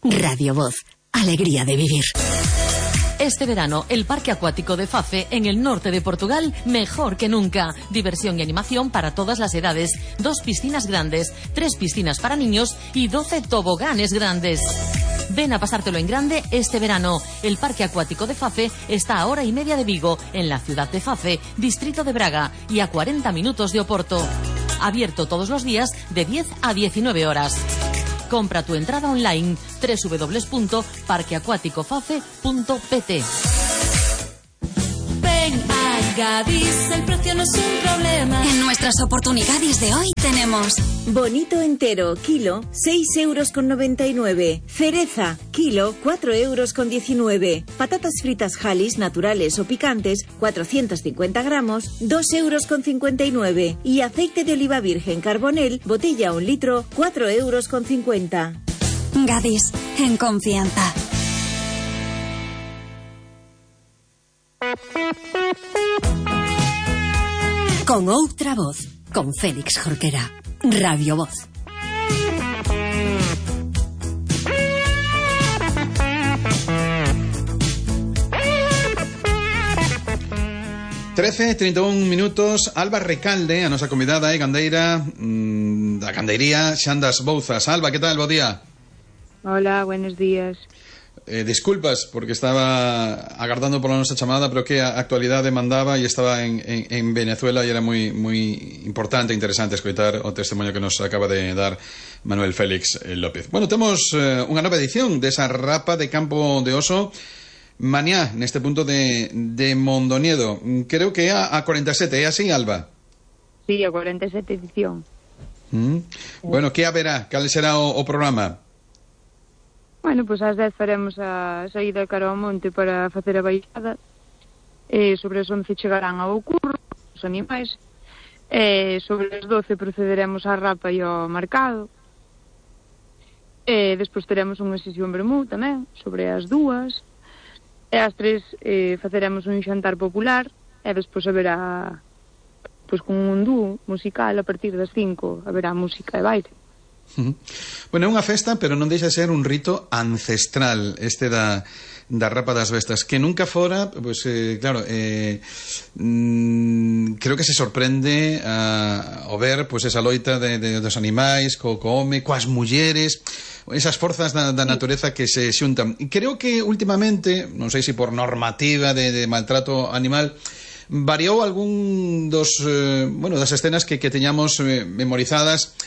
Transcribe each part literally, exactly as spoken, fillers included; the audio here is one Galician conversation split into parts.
Radio Voz, alegría de vivir. Este verano, el Parque Acuático de Fafe, en el norte de Portugal, mejor que nunca. Diversión y animación para todas las edades. Dos piscinas grandes, tres piscinas para niños y doce toboganes grandes. Ven a pasártelo en grande este verano. El Parque Acuático de Fafe está a hora y media de Vigo, en la ciudad de Fafe, distrito de Braga, y a cuarenta minutos de Oporto. Abierto todos los días de diez a diecinueve horas. Compra tu entrada online doble u doble u doble u punto parque acuático fafe punto p t. Ven a Gadis, el precio no es un problema. En nuestras oportunidades de hoy tenemos bonito entero, kilo, seis euros con noventa y nueve. Cereza, kilo, cuatro euros con diecinueve. Patatas fritas Halis, naturales o picantes, cuatrocientos cincuenta gramos, dos euros con cincuenta y nueve. Y aceite de oliva virgen Carbonel, botella un litro, cuatro euros con cincuenta. Gadis, en confianza. Con outra voz, con Félix Jorquera. Radio Voz. trece, treinta y un minutos. Alba Recalde, a nosa convidada e gandeira mmm, da gandeiría Xandas Bouzas. Alba, que tal? Bo día. Hola, buenos días. Eh, disculpas, porque estaba agardando por la nosa chamada, pero que a actualidade mandaba e estaba en, en, en Venezuela e era moi, moi importante e interesante escoitar o testemunho que nos acaba de dar Manuel Félix López. Bueno, temos eh, unha nova edición desa rapa de Campo de Oso mañá, neste punto de, de Mondoñedo. Creo que é a, a cuarenta e sete, é así, Alba? Sí, a cuarenta e sete edición. Mm. Bueno, que haberá? Cal será o, o programa? Bueno, pois ás dez faremos a saída cara ao monte para facer a baixada. E sobre as once chegarán ao curro os animais. E sobre as doce procederemos á rapa e ao marcado. E despois teremos unha sesión vermú tamén, sobre as dúas. E ás tres eh, faceremos un xantar popular. E despois haberá, pois con un dúo musical a partir das cinco, haberá música e baile. Bueno, é unha festa, pero non deixa de ser un rito ancestral este da, da rapa das bestas, que nunca fora, pues, eh, claro, eh, mm, creo que se sorprende a, ao ver pues, esa loita de, de, dos animais, co, co home, coas mulleres, esas forzas da, da natureza que se xuntan. E creo que últimamente, non sei se por normativa de, de maltrato animal, variou algún dos eh, bueno, das escenas que, que teñamos eh, memorizadas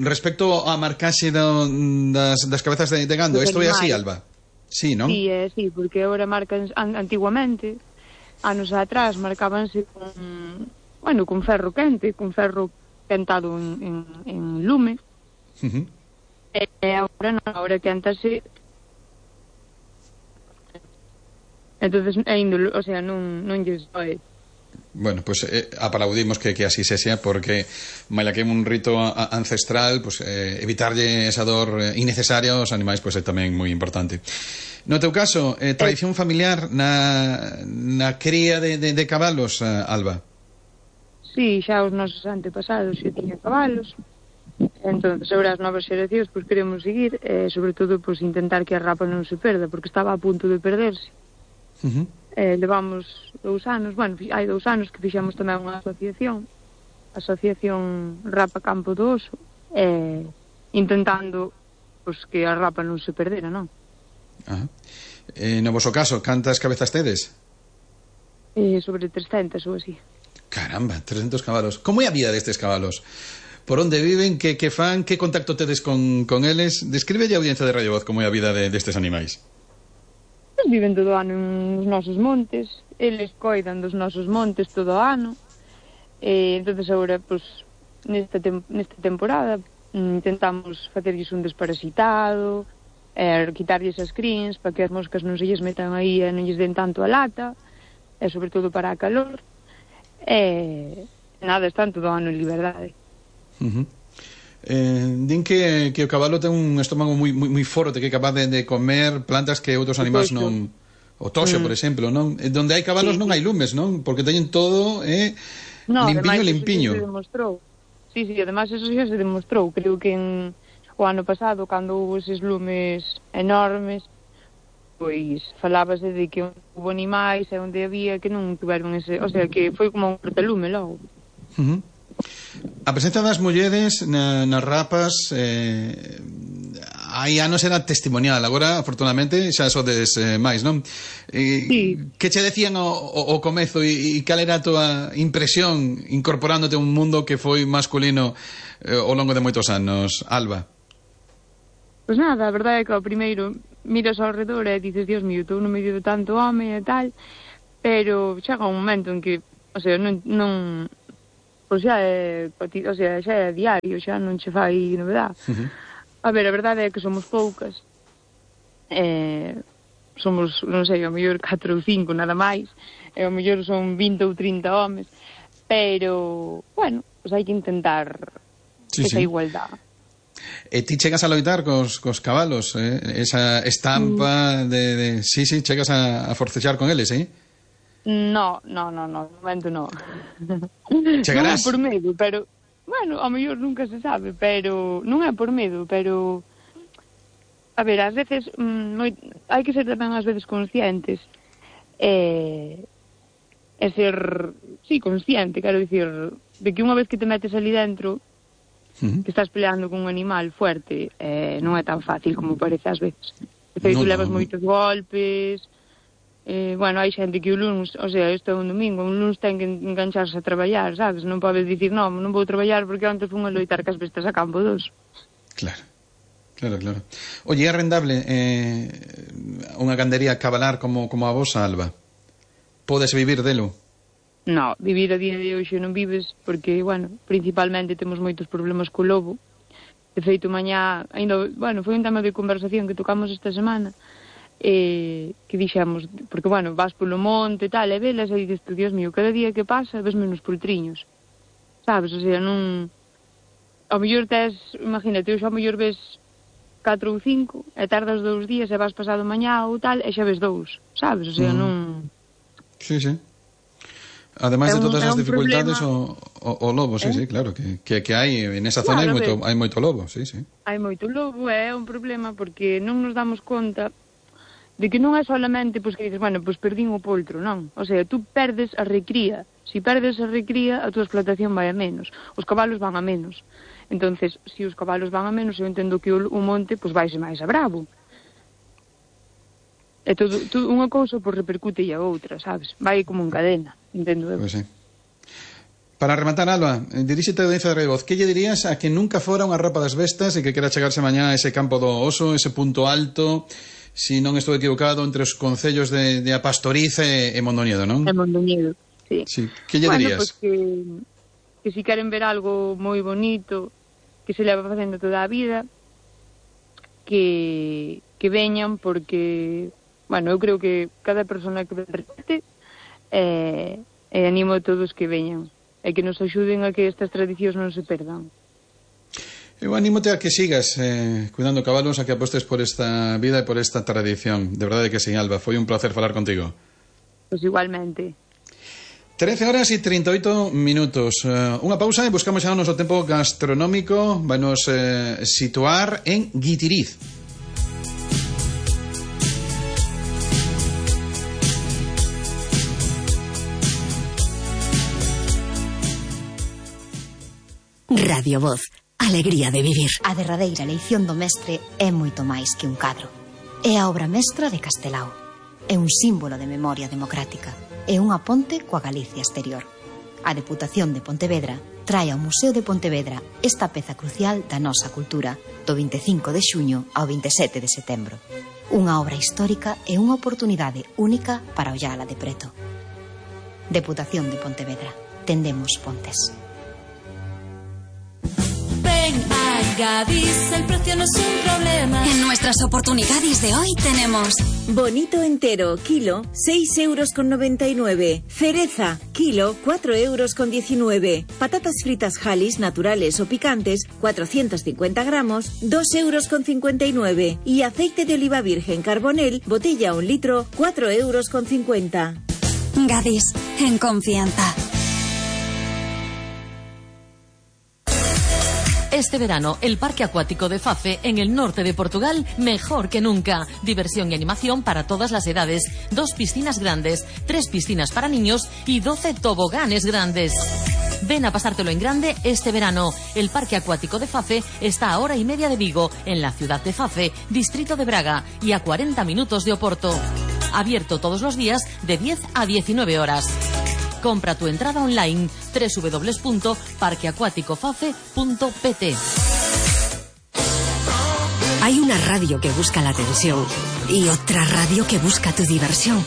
respecto á marcaxe do, das, das cabezas de, de gando. Isto é así, Alba? Sí, non? Sí, é así, porque agora marcan antiguamente, anos atrás, marcábanse con, bueno, con ferro quente, con ferro quentado en, en, en lume. Uh-huh. E agora non, agora quentase. Entonces, ainda, o sea, non, non lles doe. Bueno, pues eh, aplaudimos que, que así se sea, porque maila que é un rito a, ancestral, pues eh, evitarlle esa dor eh, innecesaria aos animais pues é tamén moi importante. No teu caso, eh, tradición familiar na, na cría de, de, de cabalos, eh, Alba? Sí, xa os nosos antepasados xa tiñan cabalos. Entón, sobre as novas xeracións, pues queremos seguir, eh, sobre todo, pues intentar que a rapa non se perda, porque estaba a punto de perderse. Uh-huh. Eh, levamos dous anos, bueno, hai dous anos que fixemos tamén unha asociación, Asociación Rapa Campo do Oso, eh, intentando pues, que a rapa non se perdera, non? Ah. Eh, no voso caso, cantas cabezas tedes? Eh, sobre trescentas ou así. Caramba, trescentos cabalos. Como é a vida destes cabalos? Por onde viven? Que, que fan? Que contacto tedes con, con eles? Describe a audiencia de Radio Voz como é a vida de, destes animais. Viven todo o ano nos nosos montes, eles coidan dos nosos montes todo o ano, e entonces agora, pues, nesta, tem nesta temporada intentamos facerlles un desparasitado, eh, quitarlles as crins para que as moscas non se lles metan aí e non lles den tanto a lata, e sobre todo para a calor, e nada, están todo o ano en liberdade. Uh-huh. Eh, din que, que o cabalo ten un estómago moi, moi, moi forte, que é capaz de, de comer plantas que outros animais non... O toxo, mm. por exemplo, non? Donde hai cabalos sí, non hai lumes, non? Porque teñen todo eh, no, limpiño, además, limpiño. Eso se demostrou. Sí, sí, además eso xa se demostrou. Creo que en o ano pasado, cando houve eses lumes enormes, pois falábase de que houve animais e onde había que non tuveron ese, o sea, que foi como un cortalume logo. Uh -huh. A presenza das mulleres na, nas rapas eh, hai anos era testimonial, agora afortunadamente xa sodes eh, máis, non? Eh, sí. Que che decían o, o, o comezo e, e cal era a tua impresión incorporándote a un mundo que foi masculino eh, ao longo de moitos anos, Alba? Pois nada, a verdade é que ao primeiro miras ao redor e dices, Dios mío, estou no medio de tanto home e tal, pero chega un momento en que, o sea, non, non pois xa é, o sea, xa é diario, xa non che fai novedade. Uh -huh. A ver, a verdade é que somos poucas, eh, somos, non sei, ao mellor catro ou cinco nada máis, e ao mellor son vinte ou trinta homes, pero, bueno, pois hai que intentar sí, esa sí. igualdade. E ti chegas a loitar cos, cos cabalos, eh? Esa estampa mm. de, de... Sí, sí, chegas a, a forcexar con eles, eh? No, no, no, no, de momento no. Chegarás? Non é por medo, pero... Bueno, ao mellor nunca se sabe, pero... Non é por medo, pero... A ver, ás veces... Mm, moi... hai que ser tamén ás veces conscientes. E... E ser... Sí, consciente, quero dicir... De que unha vez que te metes ali dentro... Uh-huh. Que estás peleando con un animal fuerte, eh, non é tan fácil como parece ás veces. De feito, no, levas no. moitos golpes, eh, bueno, hai xente que o lunes, o sea, isto é un domingo, un lunes ten que engancharse a traballar, sabes? Non podes dicir, non, non vou traballar porque antes fun a loitar cas bestas a campo dos. Claro, claro, claro. Oye, é rendable eh, unha gandería cabalar como, como a vosa, Alba? Podes vivir delo? No, vivir a día de hoxe non vives porque, bueno, principalmente temos moitos problemas co lobo. De feito, mañá, ainda, bueno, foi un tema de conversación que tocamos esta semana, eh, que dixemos, porque, bueno, vas polo monte e tal, e velas, e dices, Dios mío, cada día que pasa ves menos poltriños, sabes? O sea, non... Ao mellor tes, imagínate, hoxe ao mellor ves catro ou cinco, e tardas dous días e vas pasado mañá ou tal, e xa ves dous, sabes? O sea, mm. non... Sí, sí. Ademais de todas as dificultades o, o, o lobo, sí, eh? sí, claro que, que, que hai en esa zona claro, hai, moito, hai moito lobo, sí, sí. Hai moito lobo, é un problema porque non nos damos conta de que non é solamente pois, que dices, bueno, pois perdín o poltro, non. O sea, tú perdes a recría. Si perdes a recría, a tua explotación vai a menos. Os cabalos van a menos. Entonces, se si os cabalos van a menos, eu entendo que o, o monte pois vaise máis a bravo. E todo, todo unha cousa pois repercute e a outra, sabes? Vai como en cadena, entendo eu. Pois sí. Para rematar, Alba, diríxete a audiencia de Revoz, que lle dirías a que nunca fora unha rapa das bestas e que quera chegarse mañá a ese campo do oso, ese punto alto, si non estou equivocado, entre os concellos de, de A Pastoriz e, e Mondoñedo, non? E Mondoñedo, sí. sí. Que lle bueno, dirías? Pues que, que si queren ver algo moi bonito, que se leva facendo toda a vida, que, que veñan porque... Bueno, eu creo que cada persona que repete eh, eh, animo a todos que veñan e que nos axuden a que estas tradicións non se perdan. Eu anímote a que sigas eh, cuidando cabalos, a que apostes por esta vida e por esta tradición. De verdade que sí, Alba, foi un placer falar contigo. Pois igualmente. trece horas e trinta e oito minutos. Uh, unha pausa e buscamos xa o noso tempo gastronómico. Vai nos eh, situar en Guitiriz. Radio Voz, alegría de vivir. A derradeira eleición do mestre é moito máis que un cadro. É a obra mestra de Castelao. É un símbolo de memoria democrática. É unha ponte coa Galicia exterior. A Deputación de Pontevedra trae ao Museo de Pontevedra esta peza crucial da nosa cultura do vinte e cinco de xuño ao vinte e sete de setembro. Unha obra histórica e unha oportunidade única para ollala de preto. Deputación de Pontevedra. Tendemos pontes. A Gadis el precio no es un problema. En nuestras oportunidades de hoy tenemos bonito entero, kilo, seis euros con noventa y nueve. Cereza, kilo, cuatro euros con diecinueve. Patatas fritas Halis naturales o picantes, cuatrocientos cincuenta gramos, dos euros con cincuenta y nueve. Y aceite de oliva virgen Carbonel, botella un litro, cuatro euros con cincuenta. Gadis, en confianza. Este verano, el Parque Acuático de Fafe, en el norte de Portugal, mejor que nunca. Diversión y animación para todas las edades. Dos piscinas grandes, tres piscinas para niños y doce toboganes grandes. Ven a pasártelo en grande este verano. El Parque Acuático de Fafe está a hora y media de Vigo, en la ciudad de Fafe, distrito de Braga, y a cuarenta minutos de Oporto. Abierto todos los días de diez a diecinueve horas. Compra tu entrada online doble u doble u doble u punto parque acuático fafe punto p t. Hay una radio que busca la atención y otra radio que busca tu diversión.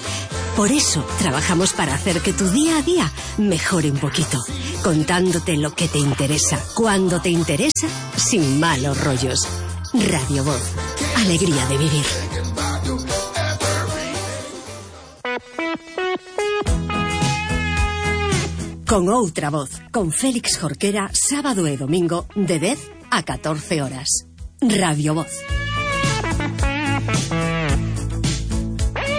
Por eso trabajamos para hacer que tu día a día mejore un poquito, contándote lo que te interesa, cuando te interesa, sin malos rollos. Radio Voz, alegría de vivir. Con outra voz, con Félix Jorquera, sábado e domingo, de dez a catorce horas. Radio Voz.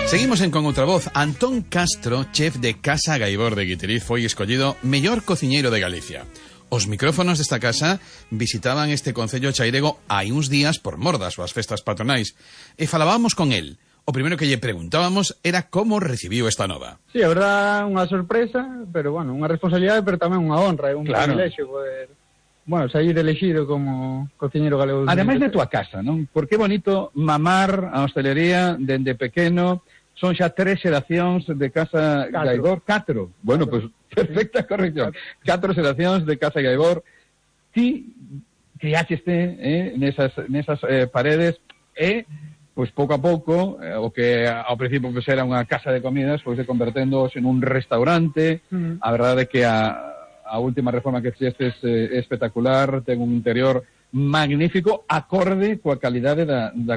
Seguimos en Con outra voz. Antón Castro, chef de Casa Gaibor de Guiteriz, foi escollido mellor cociñeiro de Galicia. Os micrófonos desta casa visitaban este concello chairego hai uns días por mor das súas festas patronais e falábamos con el. O primeiro que lle preguntábamos era como recibiu esta nova. Sí, a verdad, unha sorpresa, pero, bueno, unha responsabilidade, pero tamén unha honra, é un claro. privilexio poder, bueno, sair elegido como cociñeiro galego. Ademais de tua casa, non? Porque é bonito mamar a hostelería dende pequeno. Son xa tres xeracións de Casa Catro. Gaibor. Catro. Bueno, pois, pues, perfecta corrección. Catro xeracións de Casa Gaibor. Ti criaxeste eh, nesas, nesas eh, paredes e... Pois pouco a pouco, eh, o que ao principio pues, era unha casa de comidas, pois pues, se convertendo en un restaurante. Mm. A verdade é que a, a última reforma que fixestes é eh, espectacular, ten un interior magnífico, acorde coa calidade da, da